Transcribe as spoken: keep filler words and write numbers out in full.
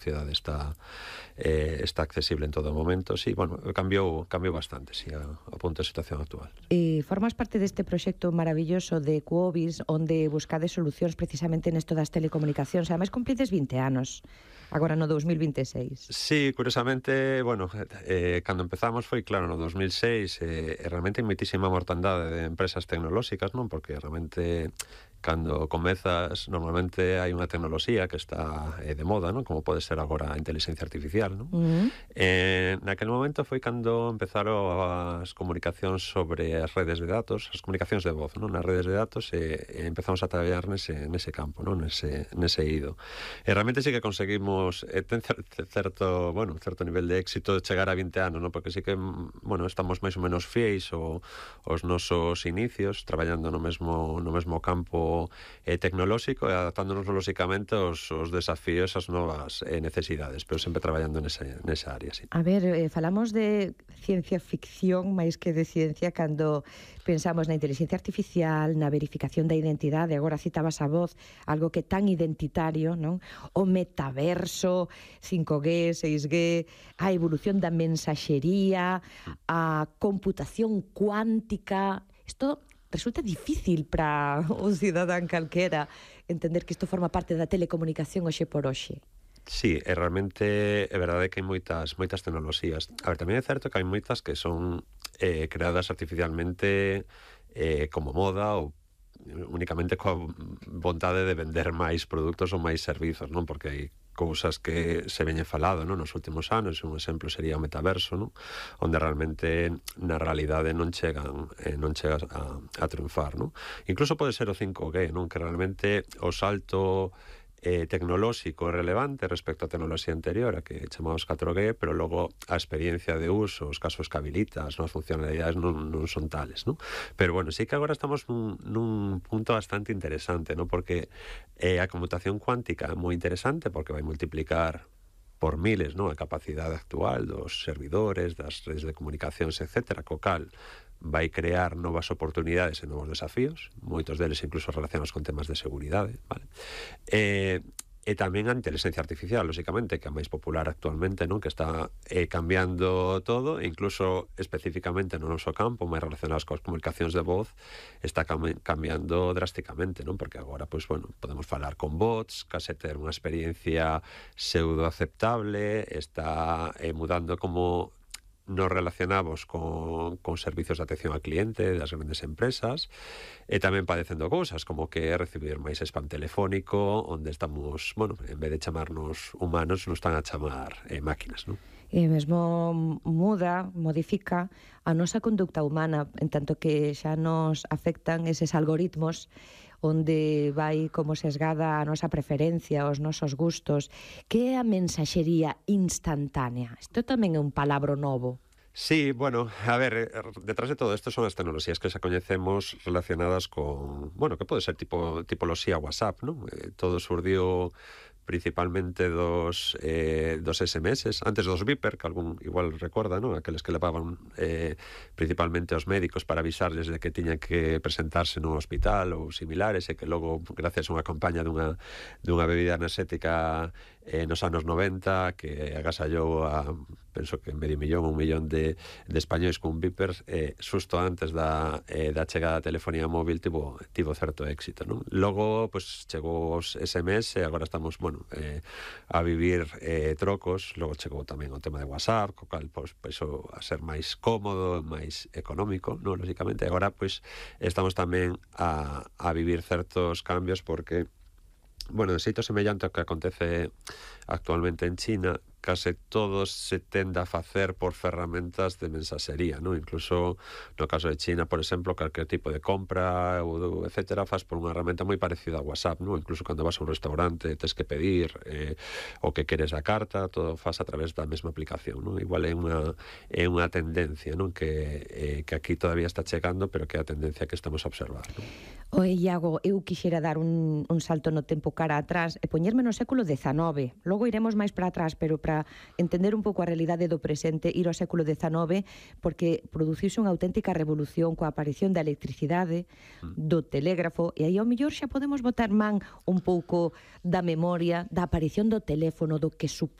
sociedade está eh, está accesible en todo momento. Sí, bueno, cambiou, cambiou bastante, sí, a, a punto de situación actual. E formas parte deste proxecto maravilloso de Quobis, onde buscades solucións precisamente nesto das telecomunicacións. Ademais, cumplides vinte anos, agora no dos mil vinte e seis. Sí, curiosamente, bueno, eh, cando empezamos foi, claro, no dos mil seis, eh, realmente hai moitísima mortandade de empresas tecnolóxicas, non? Porque realmente cando comezas, normalmente hai unha tecnoloxía que está eh, de moda, non? Como pode ser agora a inteligencia artificial, non? Uh-huh. Eh, naquel momento foi cando empezaron as comunicacións sobre as redes de datos, as comunicacións de voz, non? Nas redes de datos, e, e empezamos a traballar nese, nese campo, non? Nese, nese ido. E realmente sí que conseguimos, eh, ten certo, bueno, certo nivel de éxito chegar a vinte anos, non? Porque sí que, bueno, estamos máis ou menos fieis o, os nosos inicios, traballando no mesmo, no mesmo campo eh, tecnolóxico e adaptándonos lóxicamente aos, aos desafíos, as novas eh, necesidades, pero sempre traballando nesa, nesa área, sí. A ver, eh, falamos de ciencia ficción máis que de ciencia cando pensamos na inteligencia artificial, na verificación da identidade. Agora citabas a voz, algo que tan identitario, non? O metaverso, cinco G, seis G, a evolución da mensaxería, a computación cuántica. Isto resulta difícil para un cidadán calquera entender que isto forma parte da telecomunicación hoxe por hoxe. Sí, é realmente é verdade que hai moitas moitas tecnoloxías. A ver, tamén é certo que hai moitas que son eh, creadas artificialmente eh, como moda ou únicamente coa vontade de vender máis produtos ou máis servizos, non? Porque hai cousas que se veñen falado, non? Nos últimos anos, un exemplo sería o metaverso, non? Onde realmente na realidade non chegan eh, non chegas a, a triunfar, non? Incluso pode ser o cinco G, non? Que realmente o salto eh, tecnolóxico relevante respecto á tecnoloxía anterior, a que chamamos catro G, pero logo a experiencia de uso, os casos que habilita, as novas funcionalidades non, non son tales, non? Pero bueno, sí que agora estamos nun, nun punto bastante interesante, non? Porque eh, a computación cuántica é moi interesante porque vai multiplicar por miles, non? A capacidade actual dos servidores, das redes de comunicacións, etcétera, co cal vai crear novas oportunidades e novos desafíos, moitos deles incluso relacionados con temas de seguridade, vale? E, e tamén a inteligencia artificial, lóxicamente, que é máis popular actualmente, non? Que está eh, cambiando todo, e incluso especificamente no noso campo, máis relacionados coas comunicacións de voz, está cam cambiando drásticamente, non? Porque agora, pois, bueno, podemos falar con bots, case ter unha experiencia pseudo aceptable, está eh, mudando como nos relacionamos con, con servicios de atención al cliente das grandes empresas, e tamén padecendo cousas como que recibir máis spam telefónico, onde estamos, bueno, en vez de chamarnos humanos, nos están a chamar eh, máquinas, non? E mesmo muda, modifica a nosa conducta humana, en tanto que xa nos afectan eses algoritmos onde vai como sesgada a nosa preferencia, os nosos gustos. Que é a mensaxería instantánea? Isto tamén é un palabro novo. Sí, bueno, a ver, detrás de todo isto son as tecnoloxías que xa coñecemos relacionadas con, bueno, que pode ser tipo tipoloxía WhatsApp, non? Eh, todo surdiu principalmente dos eh, dos S M S, antes dos Viper, que algún igual recorda, non? Aqueles que levaban eh, principalmente aos médicos para avisarles de que tiñan que presentarse nun hospital ou similares, e que logo, gracias a unha campaña dunha, dunha bebida enerxética eh, nos anos noventa, que agasallou a, penso que medio millón, un millón de, de españois con Viper, eh, xusto antes da, eh, da chegada da telefonía móvil, tivo, tivo certo éxito, non? Logo, pois, chegou os S M S, e agora estamos, bueno, eh, a vivir eh, trocos. Logo chegou tamén o tema de WhatsApp, co cal, pois, penso a ser máis cómodo, máis económico, non? Lógicamente, agora, pois, estamos tamén a, a vivir certos cambios porque, bueno, de xeito semellante ao que acontece actualmente en China, case todo se tende a facer por ferramentas de mensaxería, non? Incluso no caso de China, por exemplo, calquer tipo de compra ou etcétera, faz por unha herramienta moi parecida a WhatsApp, non? Incluso cando vas a un restaurante tes que pedir eh, o que queres a carta, todo faz a través da mesma aplicación, non? Igual é unha é unha tendencia, non? Que eh, que aquí todavía está chegando, pero que é a tendencia que estamos a observar, non? Oe, Iago, eu quixera dar un, un salto no tempo cara atrás e poñerme no século dezanove. Logo iremos máis para atrás, pero para para entender un pouco a realidade do presente, ir ao século dezanove, porque produciuse unha auténtica revolución coa aparición da electricidade, do telégrafo, e aí ao mellor xa podemos botar man un pouco da memoria, da aparición do teléfono, do que supón